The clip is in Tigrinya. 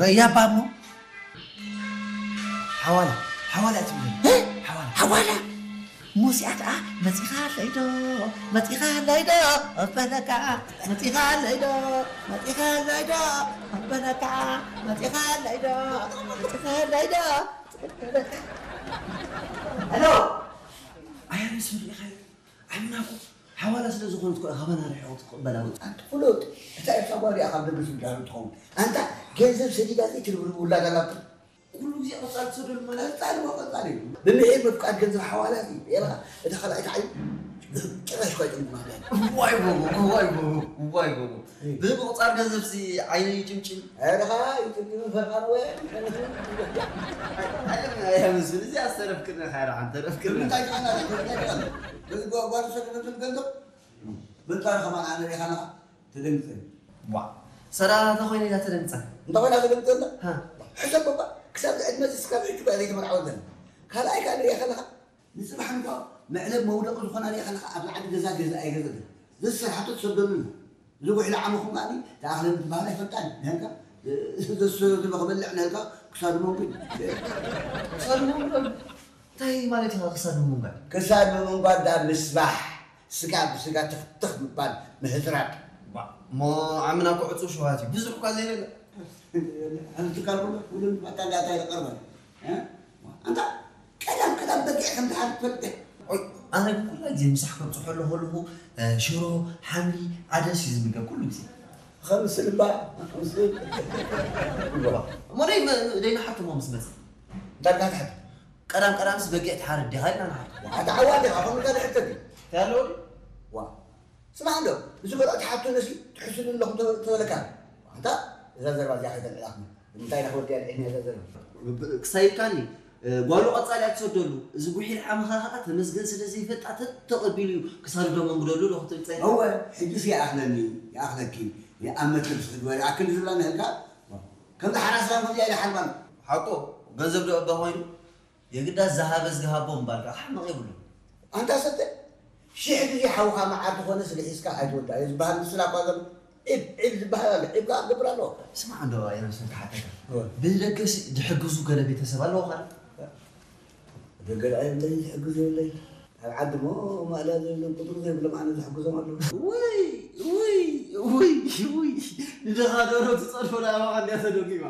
ረያ ባሞ ሓዋላ ሓዋላ እትብል ሓዋላ ሓዋላ ሙዚኣ ከዓ መፂኻ ኣለይዶ መፂኻ ኣለይዶ ኣበለካ መፂኻ ኣለይዶ መፂኻ ኣለይዶ ኣበለካ መፂኻ ኣለይዶ መፂኻ ኣለይዶ ሄሎ ኣያ ምስ ምርኢኻዮ ዓምናኩ ሓዋላ ስለ ዝኾነት እኮ ኢኻ ባና ርሒቑ ትቕበላ። ኣንቲ ፍሉጥ፣ እታ ኤርትራ ጓል እያ ካብ ደገ ስድራቤት ትኸውን። ኣንታ ገንዘብ ሰዲዳ ዘይትርብርብ ውላድ ኣላቶ። ኩሉ ግዜ ቀጻሊ ትሰደሉ ማለት ቀጻሊ እሞ ቀጻሊ እዩ። ብምሒር ምፍቃድ ገንዘብ ሓዋላ እዩ። የላ፣ እታ ካልኣይቲ ዓይኒ ጭራሽ እኳ ኣይጥምት ማለት እዩ። ዋይ ጎቦ፣ ዋይ ጎቦ፣ ዋይ ጎቦ። ብምቁጻር ገንዘብሲ ዓይነይ ይጭምጭም። ኣረኻ ይጥምጥም ፈርቓን ወይ ኣይመስል እዚ ኣስተረፍክና ካራ ኣንተ ረፍክና እንታይ ቃና እንታይ ቃና በዚ ጓጓር ሰደደትን ገንዘብ በንጣር ከማን ኣነ ሪኻ ኣለኻ ተደንግጸ ዋ ሰራ ተኾይነ ኢላ ተደንግጸ እንታይ ኮይና ተደንግጸ እንዳ ሓ ሕሰብ በባ ክሳብ ዕድመ ዝስካብ ሕጂ ጓ ዘይተመርዓወ ዘን ካልኣይ ካን ሪኻ ኣለኻ ንጽባሕ እንኳ መዕለብ መውደቂ ዝኾና ሪኻ ኣለኻ ኣብ ላዕሊ ገዛ ገዛ ኣይገዘ ዘሰራሕቶ ትሰደሉ እዚ ጉሒላ ዓመኹም ከኣ ተኣኽለ ምትበሃል ኣይፈልጣን ነህልካ ዘሰዮ ዘሎ ክበልዕ ነህልካ ክሳዱ መንጉ ክሳዱ መንጉ እንታይ ማለት ኢኻ ክሳዱ መንጓ ክሳዱ መንጓ ዳ ምስባሕ ስጋ ብስጋ ትኽትኽ ምባል ምህዝራብ እሞ ዓምና እኮ ዕፁብ ሸዋት እዩ ብዙሕ እኳ ዘይበለ ኣንትካልኩ ውልን ባታ እንዳታ ይቀርበል ኣንታ ቀዳም ቀዳም በጊዕ ከም ዝሓል ትፈልጥ ኣነ ኩላ ግዜ ምሳሕ ከብፅሖ ኣለኹ ኣለኹ ሽሮ ሓምሊ ዓደስ እዩ ዝምገብ ኩሉ ግዜ ከምስል እባ ከምስል እሞ ደይ ደይና ሓክሞ ምስ መፅ እንታይ ትሓት ቀዳም ቀዳምስ በጊዕ ትሓርድ ዲኻ ኢልና ንሓቶ ኣታ ዓዋ ዲኻ ከምኡ እንታይ ዝሕተት እዩ እንታይ ኣለዎ ድዩ ዋ ስማዕ እንዶ እዚ በልዖ ትሓቶ ነሲ ትሕስሉ ኣለኹም ተበለካ ኣንታ እዛ ዘረባ እዚኣ ከይተልዕላኩም እንታይ ኢና ክወዲ ኣልዒልና እዛ ዘረባ ክሳይልካኒ ጓሉ ቀጻሊ ኣትሰደሉ እዚ ጉሒል ዓመኻ ከዓ ተመስገን ስለ ዘይፈልጣ ተተቐቢሉ እዩ ክሳዱ ደመንጉደሉ ዶ ክትብል ጸኒሕካ? እወ ሕጂስ ይኣኽለኒ ይኣኽለኪ ይኣመት ልብሲ ክትበሪ ኣክል ዝብላ ንህልካ ከምዚ ሓራስራን ከምዚኣ ኢለ ሓልባን ሓቆ ገንዘብ ዶ እባ ኮይኑ የግዳ ዝሃበ ዝሃቦ ምባል ከዓ ሓመቕ የብሉ ኣንታ ሰተ ሽሕ ግዜ ሓውኻ መዓር ዝኾነ ስለ ሒዝካ ኣይትወዳእዮ ዝበሃል ምስላ እኳ ዘሎ ዒብ ዒብ ዝበሃል ኣሎ ዒብ ከዓ ክገብር ኣለዎ ስማዕ እንዶ ኣየር ምስል ክሓተካ ብደገስ ዝሕግዙ ገለ ቤተሰብ ኣለዎ ኻል ደገ ደኣ የብለይ ዝሕግዙ የብለይ ኣብ ዓዲ ሞ ማእለያ ዘይብሎም ቁፅሪ ዘይብሎም ኣነ ዝሕግዞም ኣለዉ ውይ ውይ ውይ ውይ ንደኻ ደሮ ትፀድፎ ንኣባኻ እንዲያ ተደጊማ